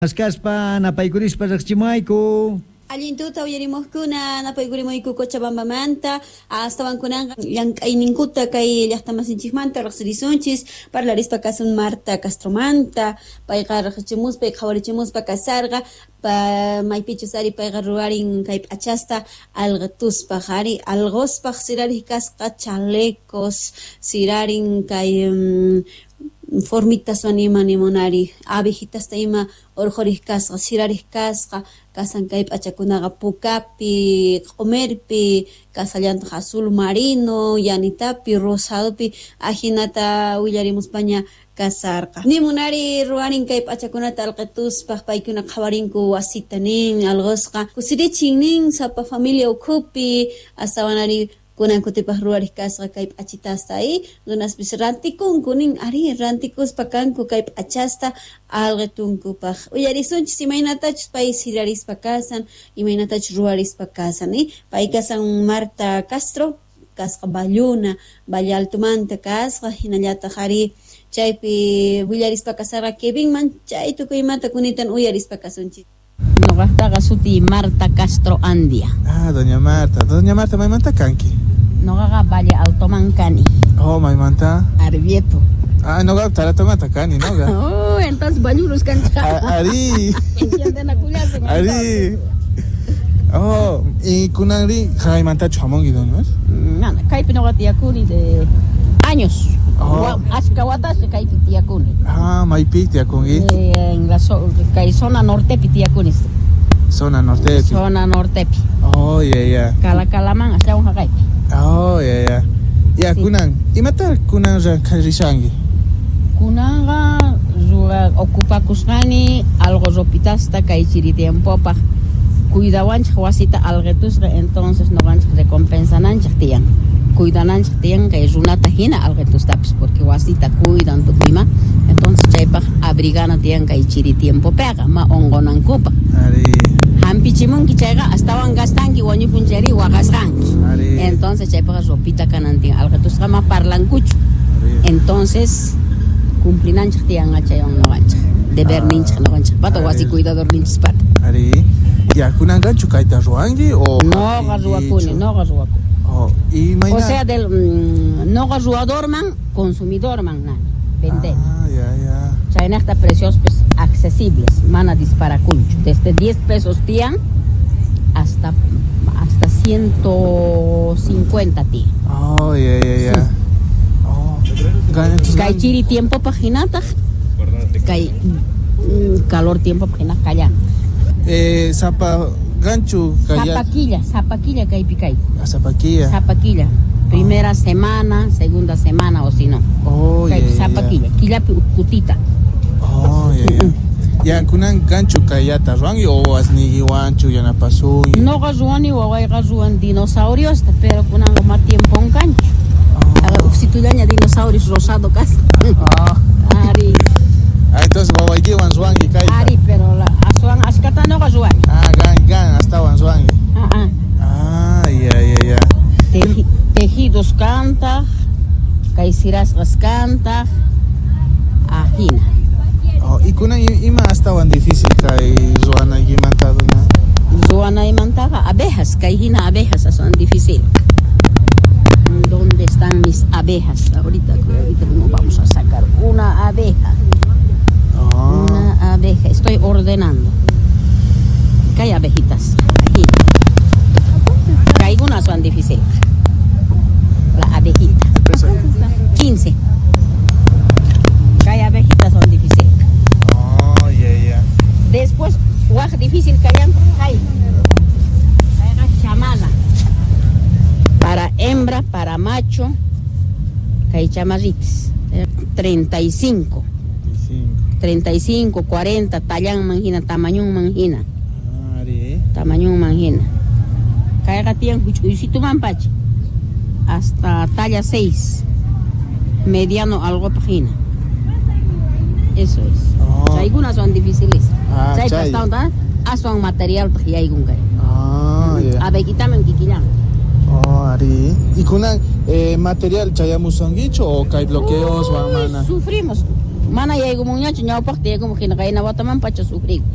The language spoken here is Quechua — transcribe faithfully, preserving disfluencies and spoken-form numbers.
Maskaspa napaykurispa riqchimayku. Allin tuta uyarimuqkuna napaykurimuyku Cochabambamanta astawankunanqa llank'ayninkuta kay llaqtamasinchikmanta riqsirisunchis parlarispa kasun Marta Castromanta payqa riqsichimuspa y qhawarichimuspa kasarqa pa maypichus ari payqa ruwarin kay p'achasta alqituspaq ari alquspaq sirariq kasqa chalecos sirarin kay formitas ima nimunari abejitasta ima urqhuriq kasqa sirariq kasqa kasan kay p'achakunaqa pukapi q'umirpi kasallantaq azul marino yanitapi rosadopi ajinata willarimuspaña kasarqa nimunari ruwarin kay p'achakunata alqituspaq paykuna qhawarinku wasita nin alqusqa kusirichin nin sapa familia ukhupi astawanari kunan kutipaq ruwariq kasqa kay p'achitasta y runaspis rantikunku nin ari rantikuspa kanku kay p'achasta alqitunkupaq uyarisunchis imaynatachus pay sirarispa kasan imaynatachus ruwarispa kasan y pay kasan Marta Castro kasqa Valluna Valle Altomanta kasqa hinallataq ari chaypi willarispa kasarqa Kevinman chay tukuymanta kunitan uyarispa kasunchis. Noqaqtaqa sutiy Marta Castro Andia. Ah, doña Marta. Doña Marta, maymanta kanki? Noqaqa Valle Altoman kani. Oh, maymanta? Arbieto. Ah, noqa Taratomanta kani, noqa. Oh, entonces ballurus kanchik. Ari. Ari. Oh, y kunanri jaymantachu hamunki, doña? Mana, kaypi noqa tiyakuni de años. Oh. Ashka watasqa kaypi tiyakuni. Ah, maypi tiyakunki? Eh, en la so, kay zona nortepi tiyakuni. Zona nortepi. Zona nortepi. Oh, yeah, yeah. Kalakalaman astawan haqaypi. Oh, yeah, yeah. Ya, Sí. kunan, imata kunan rishanki? Kunanqa ruwa ocupakusqani algo ropitasta kay chiri tiempopaq cuidawanchik wasita alqitusqa entonces noqanchik recompensananchik tiyan. Cuidananchik tiyan kay runata hina alqitustapis porque wasita cuidan tukuyma entonces chaypaq abrigana tiyan kay chiri tiempopiqa ma unqunankupaq. Ari. Hampichimunki chayqa astawan gastanki wañupun chayri waqasqanki. Ari. Entonces chaypaq ropita kanan tiyan alqitusqa ma parlankuchu. Ari. Entonces cumplinanchik tiyan chaywan noqanchik deberninchik noqanchik pata wasi Ari. cuidadorninchis pata. Ari. Ya, kunanqachu kayta ruwanki o Noqa ruwakuni, noqa ruwakuni. Oh, y mayna. O sea, del mm, noqa ruwadorman, consumidorman nani, vender. Ah, ya, ya. Chaynaqta precios pues accesibles, mana disparakunchu. Desde diez pesos tiyan hasta hasta ciento cincuenta tiyan. Oh, ya, ya, ya. Sí. Oh. Gan- Kay chiri tiempo hinataq, kay mm, calor tiempo hinaq kallan. Eh, sapa ganchu kaya. Zapaquilla, zapaquilla kaypi kay. Ah, zapaquilla. Zapaquilla. Primera semana, segunda semana o si no. Oh, ya, Kay ya, ya. zapaquilla, killapi ukkutita. Oh, ya, ya. Ya, kunan ganchu kayata ruwanki o asniykiwanchu yanapasunki. Noqa ruwani wawayqa ruwan dinosauriosta, pero kunanqa ma tiempon kanchu. Oh. Uksitullaña dinosaurios rosado kasqa. Ah. Ari, Ah, entonces wawaykiwan ruwanki kayta. ari, pero la aswan ashkata noqa ruwani. Ah, gan, gan, astawan ruwanki. Ah, ah. Ah, ya, ya, ya. Teji, tejidos kantaq, kay sirasqas kantaq, ajina. Oh, y kunan ima astawan difícil kay ruwanaykimanta, doña? Ruwanaymantaqa abejas, kay hina abejas aswan difícil. ¿Dónde están mis abejas? Ahorita, ahorita nos vamos a sacar una abeja. Oh. Una abeja. Estoy ordenando. ¿Qué hay abejitas? Aquí. Que algunas son difíciles. La abejita. El precio. quince. Que hay abejitas son difíciles. Oh, ya, ya. Después, waj difícil que hayan. Hay. Chamala. Para hembra, para macho, que hay chamarritas. treinta y cinco. treinta y cinco. treinta y cinco, cuarenta, tallan manjina, tamaño manjina. Ari. Tamaño manjina. Kayqa tiyan huch'uysitu mampacha. Hasta talla seis. Mediano algo pajina. Eso es. Oh. Algunas son difíciles. Ah, Chay chay. pastawan aswan material yaykun kay. Ah, ya. Abejitaman kikillan. Oh, ari. ¿Y kunan eh, material chayamusunkichu o kay bloqueos Uy, mana? Sufrimos. Mana yaykumunñachu ñawpaqta yaykumun hina qayna wataman pacha sufriku.